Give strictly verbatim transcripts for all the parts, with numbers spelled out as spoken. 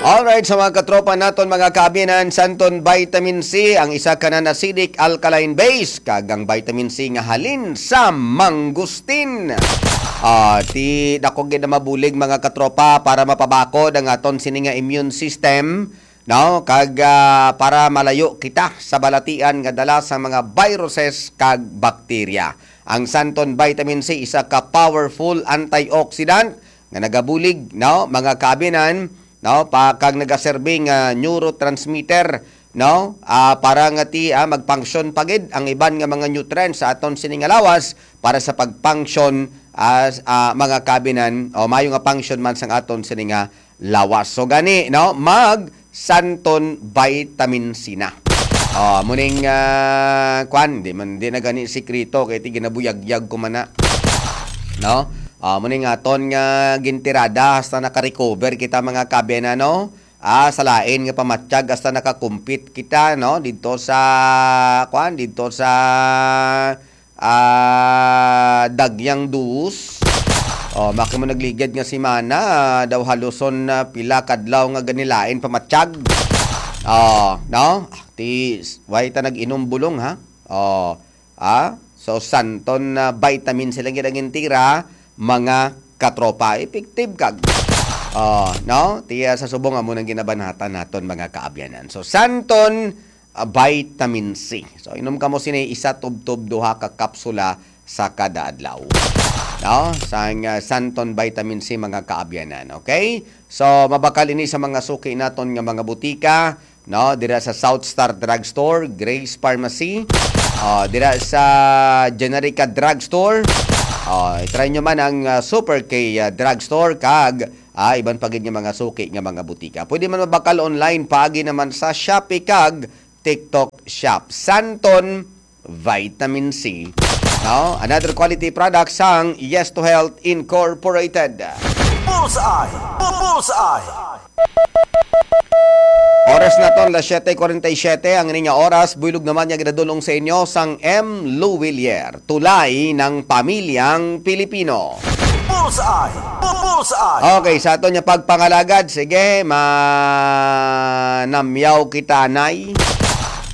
Alright, sa mga katropa naton, mga kaabyanan, Santon Vitamin C, ang isa ka non-acidic alkaline base, kag ang vitamin C nga halin sa mangustin. Ah, ti dako gid na mabulig, mga katropa, para mapabakod ang aton sini nga immune system, no? Kag, ah, para malayo kita sa balatian nga dala sa mga viruses kag bakterya. Ang Santon Vitamin C, isa ka powerful antioxidant nga nagabulig, no, mga kaabyanan, no, pa kag nagaserbi nga neurotransmitter, no, ah, para nga ti, ah, magfunction pa gid ang iban nga mga nutrients sa aton sini nga lawas para sa pagfunction as, ah, mga kaabyanan, o mayo nga function man sang aton sini nga lawas. So gani, no, mag Santon Vitamin C na. Oh, muning, ah, kwan, di man, di na gani sikreto, kay ti ginabuyagyag ko man na. No? Ah, muning aton nga gintirada, hasta naka-recover kita, mga kaabyanan, no? Ah, sa lain nga pamatyag, hasta naka-compete kita, no? Dito sa, kwan, dito sa, ah, Dagyang Duos. Oh, maki mo nagligad nga semana, ah, daw haluson na pila kadlaw nga ganilain pamatyag. Oh, no? Ti, way ta nag-inom bulong, ha? Oh, ah? So, Santon na vitamin sila gid ang intira, mga katropa. Effective kag. Oh, no? Ti, ah, sa subong amo nang ginabanhatan naton, mga kaabyanan. So, Santon, ah, vitamin C. So, inom kamo sini isa tubtob duha ka kapsula sa kada adlaw. No? Sang, ah, Santon Vitamin C, mga kaabyanan. Okay? So, mabakal ini sa mga suki naton nga mga butika, no? Dira sa South Star Drugstore, Grace Pharmacy, ah, dira sa Generica Drugstore. Ah, i-try nyo man ang, ah, Super K, ah, Drugstore kag, ah, iban pa gid nga mga suki nga mga butika. Pwede man mabakal online, paagi naman sa Shopee kag TikTok Shop. Santon Vitamin C. No? Another quality product sang Yes to Health Incorporated. Bullseye! Bu- Bullseye! Oras naton, las siete cuarenta y siete ang ining oras. Buylog naman nga ginadulong sa inyo sang M. Lou Willier, tulay ng pamilyang Pilipino. Bullseye! Bu- Bullseye! Okay, sa aton nga pagpangalagad, sige, manamyaw kita, nay.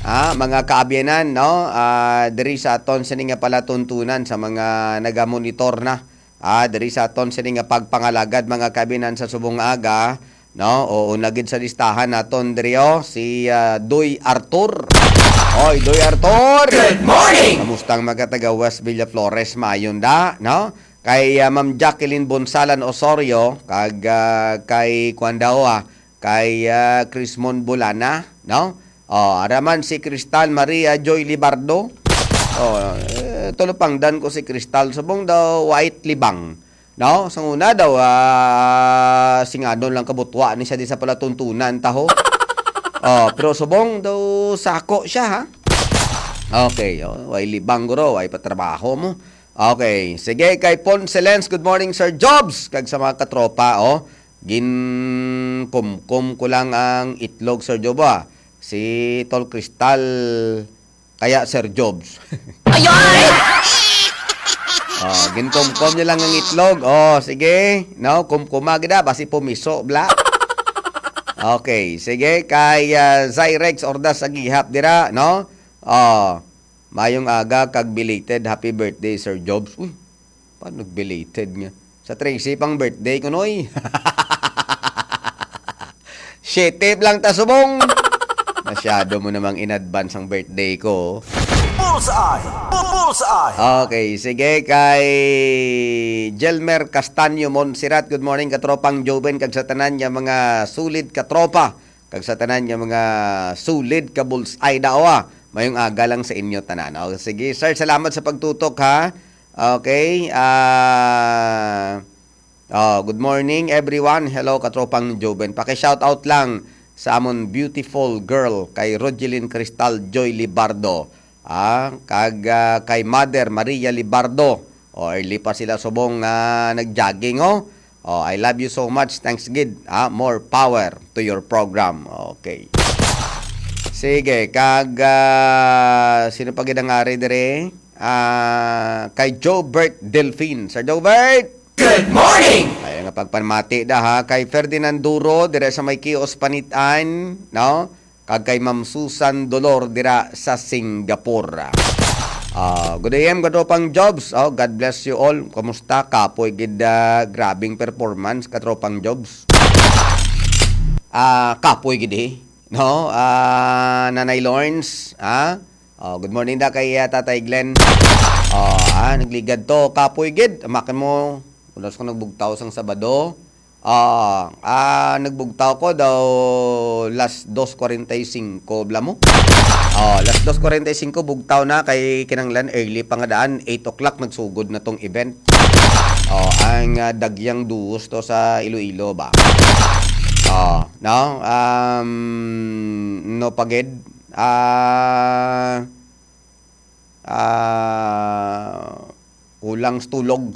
Ah, mga kaabyanan, no? Ah, diri sa aton sini nga palatuntunan sa mga nagamonitor na. Ah, diri sa aton sini nga pagpangalagad, mga kaabyanan, sa subong aga, no? O, una gid sa listahan naton diri, oh, si, ah, Doy Arthur. Oy, Doy Arthur! Good morning! Kamusta ang mga taga West Villa Flores? Maayon da, no? Kay, ah, Ma'am Jacqueline Bonsalan Osorio, kag, ah, kay kuan daw, ah, kay, ah, Crismon Bulana, no? Oh, ara man si Cristal Maria Joy Libardo. Oh, eh, tulupangdan ko si Cristal, subong daw white libang. No? Sang una daw, ah, singadon lang kabutwa ni siya di sa palatuntunan taho. Oh, pero subong daw sako siya, ha? Okay, oh, way libang guro, way patrabaho mo. Okay, sige, kay Ponce Lens, good morning, Sir Jobs, kag sa mga katropa, oh. Ginkumkom ko lang ang itlog, Sir Job, ah. Si Tol Cristal, kaya Sir Jobs. Ayoy! Oh, ginkumkom niya lang ang itlog. Oh, sige, no, kumkuma gid, ah, basi pumiso, bla. Okay, sige, kay, ah, Zyrex Ordas sa gihap dira, no? Oh, mayong aga kag belated happy birthday, Sir Jobs. Uy, paano belated nga? Sa trese pang birthday ko, noy. Siete lang ta subong. Masyado mo namang in advance ang birthday ko. Bullseye! Bu- Bullseye! Okay, sige, kay Jelmer Castaño Montserrat, good morning, katropang Joven, kag sa tanan niya mga sulid katropa, kag sa tanan niya mga sulid ka bullseye daw, ah. Mayong aga lang sa inyo tanan. Oh, sige, sir, salamat sa pagtutok, ha. Okay, ah, oh, good morning, everyone. Hello, katropang Joven. Paki-shout out lang sa amon beautiful girl kay Rogelyn Cristal Joy Libardo. Ah, kag, ah, kay Mother Maria Libardo. Oh, early pa sila subong nga nag-jogging, oh. Oh, I love you so much. Thanks gid. Ah, more power to your program. Okay. Sige, kag, ah, sino pa gid ang ari diri? Ah, kay Jobert Delfin. Sir Jobert! Good morning! Ay, ang Pagpamati da ha kay Ferdinand Duro dira sa may Kios Panitan, no? Kag kay Ma'am Susan Dolor dira sa Singapore. Ah, good A M, katropang Jobs. Oh, God bless you all. Kumusta? Kapoy gid, ah, grabing performance, katropang Jobs. Ah, kapoy gid eh. No? Ah, Nanay Lawrence, ha? Oh, good morning da kay, ah, Tatay Glenn. Oh, ah, nagligad to, kapoy gid. Amakan mo, ulas ko nagbugtaw sang Sabado. Ah, ah, nagbugtaw ko daw las dos cuarenta y cinco, bla mo? Oh, las dos cuarenta y cinco bugtaw na kay kinanglan early pa nga daan, eight o'clock nagsugod na tong event. Oh, ang, ah, Dagyang Duos to sa Iloilo ba? Oh, no? Um, no pagid, ah, ah, kulang sa tulog.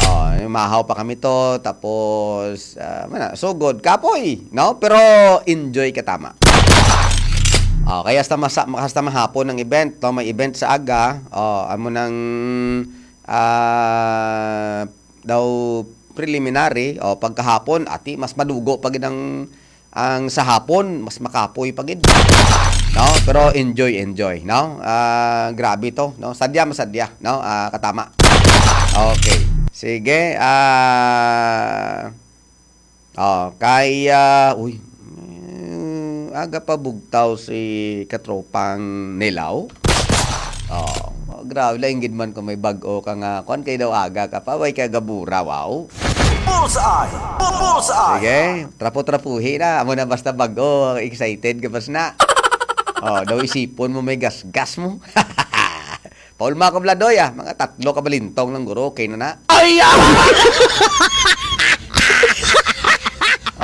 Oh, mahaw pa kami to, tapos, ah, mana, sugod, kapoy, no? Pero enjoy ka tama. Oh, kaya hasta masa-, hasta mahapon ang event, no? May event sa aga, oh, amo nang, ah, daw preliminary, oh, pagkahapon, ati, mas madugo pa gid ang ang sa hapon, mas makapoy pa gid. No? Pero enjoy, enjoy, no? Ah, grabe to, no? Sadya, masadya, no? Ah, katama. Okay. Sige, ah, oh, kay, ah, uy, eh, aga pa bugtaw si katropang Nilaw. Oh, grabe lang gid man kung may bag-o ka nga, kuwan kay daw aga ka pa, way ka gabura, wow. Bullseye! Bullseye! Sige, trapo-trapuhi na. Amo na basta bag-o, excited ka bas na. Oh, daw isipon mo may gasgas mo. Paulma ko, Bladoy, ah. Mga tatlo ka balintong lang, guro. Okay na na. Ay, ah!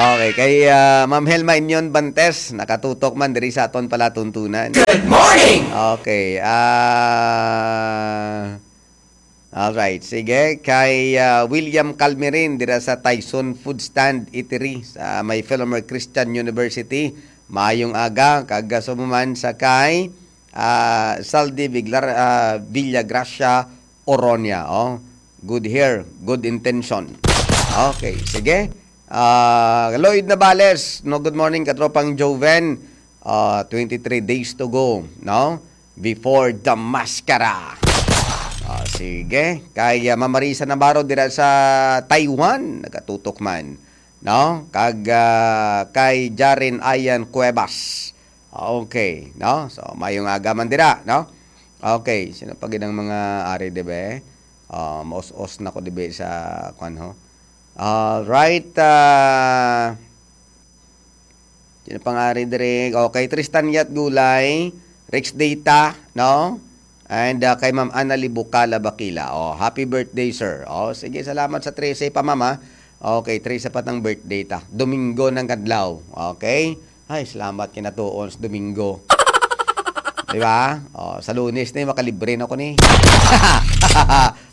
Okay, kay, ah, Ma'am Helma Inyon Bantes, nakatutok man diri sa aton palatuntunan. Good morning! Okay, ah, all right, sige. Kay, ah, William Calmerin dira sa Tyson Food Stand Eatery sa may Philomer Christian University. Maayong aga, kag, ah, sumuman sa kay, ah, Saldi Viglar-, ah, Villagracia Oronia, oh. Good hair, good intention. Okay, sige. Ah, Lloyd Navales, no, good morning, katropang Joven. Ah, twenty-three days to go, no? Before the mascara. Ah, sige. Kay, ah, Ma'am Marisa Navarro dira sa Taiwan, nagatutok man, no? Kag, ah, kay Jaren Ayan Cuevas. Okay, no? So, mayong aga man dira, no? Okay, sino pa gid ang mga ari, dibe? Ah, maus-os na ko, dibe, sa, kwan, ho? All right, ah, sino pa nga ari diri? Okay, Tristan Yat Gulay, Rex Data, no? And, ah, kay Ma'am Annalie Bucala Bakila. Oh, happy birthday, sir. Oh, sige, salamat sa trese pa, Ma'am, ah. Okay, trese pa tang birthday ta. Domingo ng kadlaw. Okay? Ay, salamat kinatuon sa Domingo. Di ba? Oh, sa Lunes ni, makalibre na ko ni.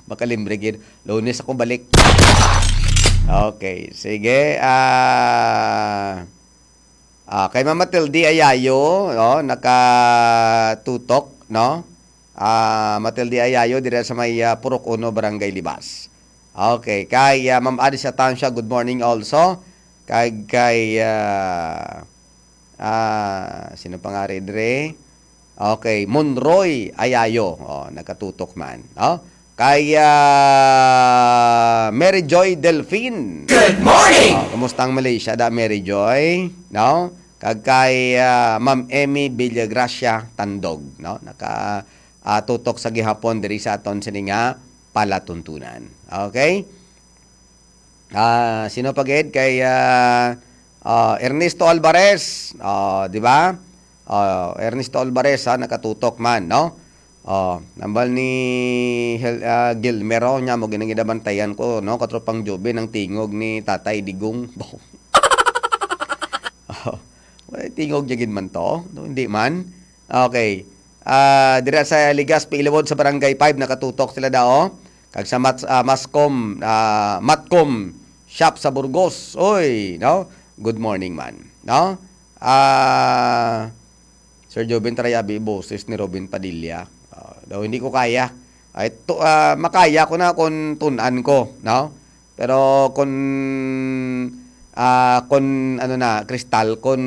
Makalibre gid. Lunes ako balik. Okay, sige. Ah, ah, kay Mama Tildy Ayayo, oh, nakatutok, no? Ah, Mama Tildy Ayayo, dira sa may, ah, Purok Uno, Barangay Libas. Okay, kay, ah, Ma'am Adis Atancia, good morning also. Kay, kay, ah, ah, sino pa nga rin, dre? Okay, Monroy Ayayo. Oh, nagkatutok man, no? Kay, ah, Mary Joy Delfin. Good morning! Oh, kumusta ang Malaysia da, Mary Joy? No? Kag kay, ah, Ma'am Emmy Villagracia Tandog, no? Naka, ah, tutok sa gihapon diri sa aton sini nga palatuntunan. Okay? Ah, sino pa gid? Kay, ah, ah, Ernesto Alvarez. Ah, di ba? Ah, Ernesto Alvarez, ha, nakatutok man, no? Oh, nambal ni Hel-, ah, Gilmero, nya mo ginang ginabantayan ko, no? Katropang Joby, ng tingog ni Tatay Digong. Oh, wala, tingog niya gid man to, no? Hindi man. Okay. Ah, dira sa Legazpi Iliwod sa Barangay five, nakatutok sila daw. Kag sa Mat-, ah, Mascom, ah, Matcom shop sa Burgos. Oy, no? Good morning man, no? Ah, Sir Joven, try abi boses ni Robin Padilla. Ah, daw hindi ko kaya. Ay, to, ah, makaya ko na kung tunan ko, no? Pero kung, ah, kung ano na, kristal, kung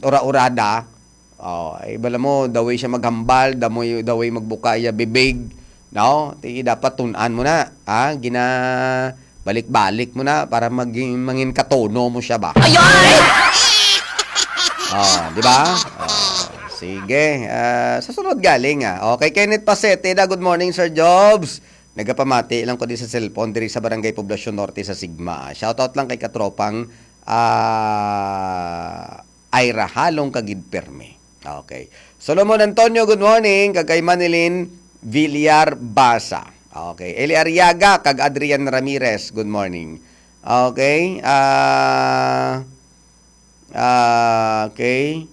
ura-urada, oh, ay bala mo, the way siya maghambal, the way, the way magbuka iya bibig, no? Ti dapat tun-an mo na, ha? Gina-, balik-balik mo na para maging, mangin katono mo siya ba? Ay, ay! Oh, di ba? Oh, sige. Ah, sa sunod galing, ah. Okay, Kenneth Pasete da, good morning, Sir Jobs. Nagapamati lang ko di sa cellphone diri sa Barangay Poblacion Norte sa Sigma. Shoutout lang kay katropang, ah, Ira Halong Kagid Perme. Okay. Solomon Antonio, good morning. Kag kay Manilyn Villar Basa. Okay. Eli Arriaga kag Adrian Ramirez, good morning. Okay. Ah, ah, okay.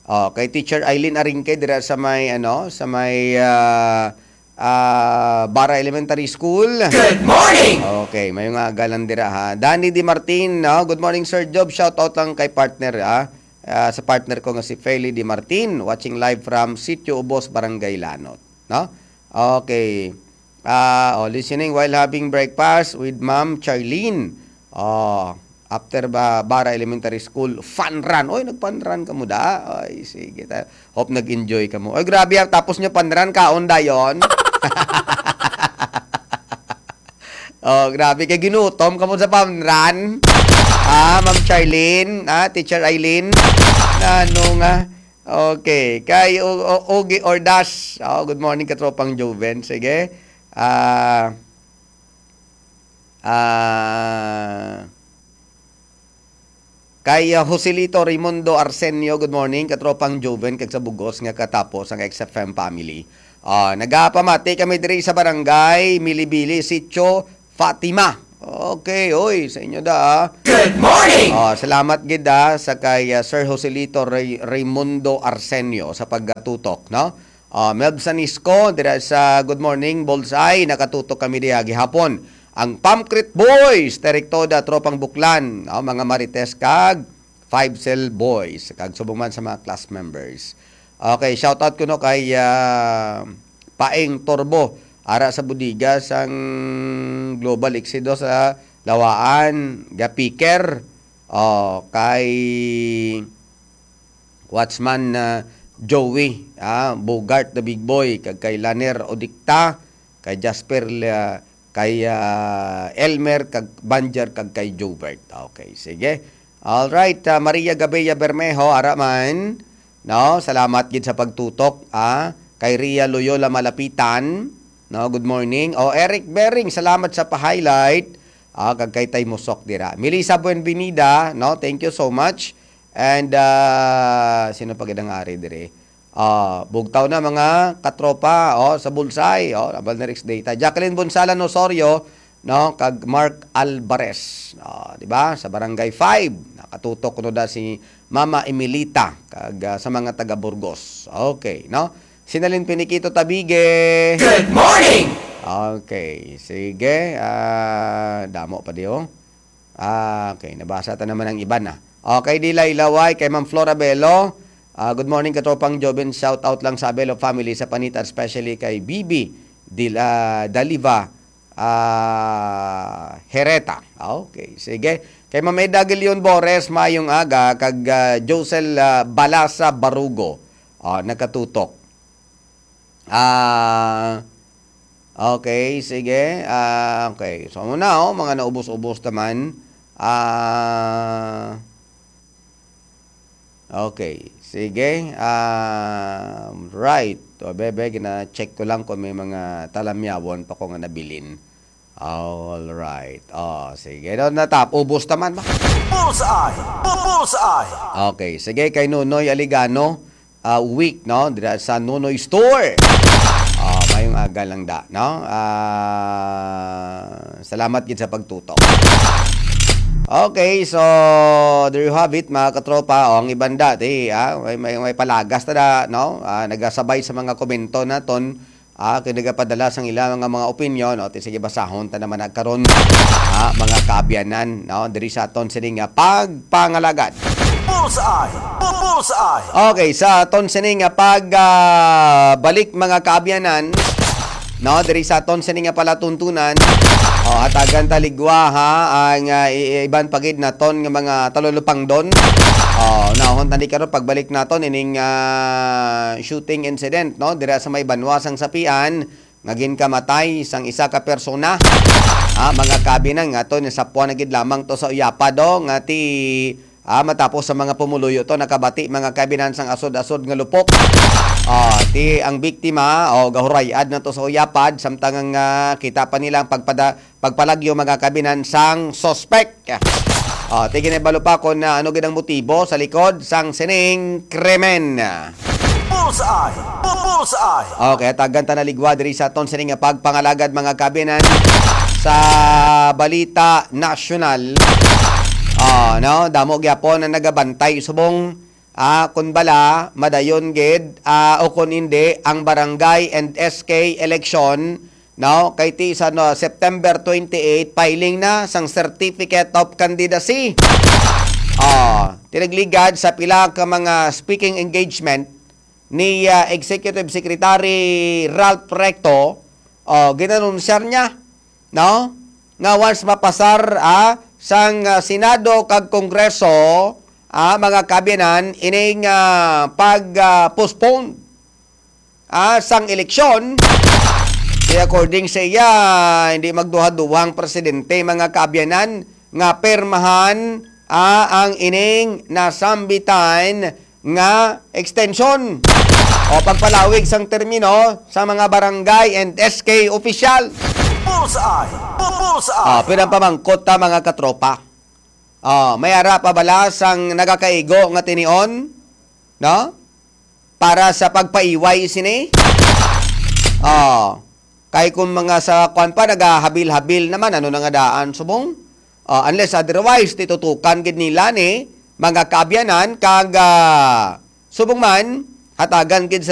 Oh, kay Teacher Eileen Aringke dira sa may, ano, sa may, ah, ah, Bara Elementary School. Good morning! Okay, may nga galang dira, ha. Danny Di Martin, no? Good morning, Sir Job. Shout out lang kay partner, ha. Ah, sa partner ko nga si Feli Di Martin, watching live from Sitio Ubos, Barangay Lanot, no? Okay. Ah, oh, listening while having breakfast with Ma'am Charlene. Oh, after ba Bara Elementary School, fun run. Oy, nag-fun run ka mo da? Ay, sige. Ta-, hope nag-enjoy ka mo. Oy, grabe, ah, tapos nyo fun run, kaon dayon. Oh, grabe. Kay ginutom ka mo sa fun run. Ah, Ma'am Charlene, ah, Teacher Eileen. Na, ano nga? Okay. Kay O-, O-, Ogie Ordas. Oh, good morning, katropang Joven. Sige. Ah, ah, kay, ah, Joselito Raimundo Arsenio, good morning, katropang Joven, kag sa bugos nga katapos ang X F M family. Ah, nagapamati kami diri sa barangay Milibili, Sitio Fatima. Okay, oy, sa inyo da, ah. Good morning! Ah, salamat gid, ah, sa kay, ah, Sir Joselito Ray-, Raimundo Arsenio sa pagkatutok, no? Ah, Melb Sanisco, dira sa Good Morning Bullseye, nakatutok kami diha gihapon. Ang Pamcrit Boys, Terek Toda, Tropang Buklan, ah, mga Marites kag Five Cell Boys, kag subong man sa mga class members. Okay, shout out kuno kay, ah, Paeng Torbo, ara sa bodega sang Global Exido sa Lawaan, Gapiker. Oh, kay Watchman, ah, Joey, ah, Bogart the Big Boy, kag kay Laner Odicta, kay Jasper, ah, kay, ah, Elmer, kag Banjer, kag kay Jobert. Okay, sige. All right, ah, Maria Gabea Bermejo, ara man. No, salamat gid sa pagtutok, ah. Kay Ria Loyola Malapitan, no, good morning. O, Eric Bering, salamat sa pa-highlight. Ah, kag kay Tay Musok dira. Melissa Buenvenida, no, thank you so much. And, ah, sino pa gid ang ari diri? Ah, bugtaw na, mga katropa, oh, sa Bulsay, oh, Abal na Rex Data. Jacqueline Bonsalan Osorio, no, kag Mark Alvarez, oh, di ba? Sa Barangay five, nakatutok kuno da si Mama Emilita, kag, ah, sa mga taga Burgos. Okay, no? Sinalin Piniquito Tabige. Good morning! Okay, sige. Ah, damo pa di, oh. Ah, okay, nabasa ta naman ang iban na. Okay, Dilay Laway, kay Ma'am Flora Bello. Ah, good morning, katropang Jobin. Shout out lang sa Bello family sa Panita, especially kay Bibi Dil-, ah, Daliva, ah, Hereta. Okay, sige. Kay Ma'am Eda Gilion Bores, mayong aga, kag, ah, Josel, ah, Balasa Barugo. Ah, nakatutok. Ah, okay, sige. Ah, okay. So, muna, oh, mga naubos-ubos naman. Ah, okay, sige. Ah, right. O, bebe, gina-check ko lang kung may mga talamyawon pa ko nga nabilin. All right. Oh, sige. No, natap, ubos naman ba? Bullseye! Bullseye! Okay, sige, kay Nonoy Aligano, ah, week, no? Dira sa Nonoy Store. Ah, mayong aga lang da, no? Ah, salamat gid sa pagtutok. Okay, so there you have it, mga katropa. O, ang iban dati, ah, may, may, may palagas na da, no? Ah, nagasabay sa mga komento naton, ah, kay nagapadala sang ila nga mga opinyon, no? Ti sige, basahon ta naman na karon, ah, mga kaabyanan, no? Diri sa aton sini nga pagpangalagad. Bullseye! Bullseye! Okay, sa aton sini nga pag, ah, balik, mga kaabyanan, no? Diri sa aton sini nga palatuntunan, o, Hatagan ta ligwa, ha, ang, ah, i- iban pa gid naton nga mga talulupangdon. Oh, nahon tani karon pagbalik naton ining, ah, shooting incident, no, dira sa may banwa sang Sapian nga ginkamatay sang isa ka persona. Ah, mga kabinan, nga to, nasapwan na gid lamang to sa uyapad, oh, nga ti Ah, matapos sa mga pumuluyo to, nakabati mga kabinan sang asod-asod nga lupok. Ah, ti ang biktima, o gahuray-ad na to sa uyapad, samtang ang, ah, kita pa nila ang pagpada, pagpalagyo mga kabinan sang suspek. Ah, ti ginibalo pa kung, ah, ano gid ang motibo sa likod sang sining krimen. Bullseye! Bullseye! Okay, tagan ta na ligwa diri sa aton sini nga pagpangalagad, mga kabinan, sa balita nasyonal. Oh, no, damo gyapon ang nagabantay subong, ah, kun bala madayon gid, ah, o kun hindi ang barangay and S K election, no, kay ti sa, no, September twenty-eight, filing na sang certificate of candidacy. Oh, tinagligad sa pila ka mga speaking engagement ni, ah, Executive Secretary Ralph Recto, oh, ginanunsyar niya, no, nga once mapasar, ah, sang, ah, Senado kag Kongreso, ah, mga kabinan, ining, ah, pag, ah, postpone, ah, sang eleksyon, kay according sa iya, hindi magduha-duha ang presidente, mga kaabyanan, nga pirmahan, ah, ang ining nasambitan nga extension o pagpalawig sang termino sa mga barangay and S K official. Bullseye! Bullseye! Ah, pero ang pamangkot ta, mga katropa, ah, may ara pa bala sang nagakaigo nga tinion, no? Para sa pagpaiway sini? Ah, kay kung mga sa kwan pa, nagahabil-habil naman, ano na nga daan, subong? Ah, unless otherwise, titutukan gid nila ni mga kaabyanan kag, ah, subong man, hatagan gid sa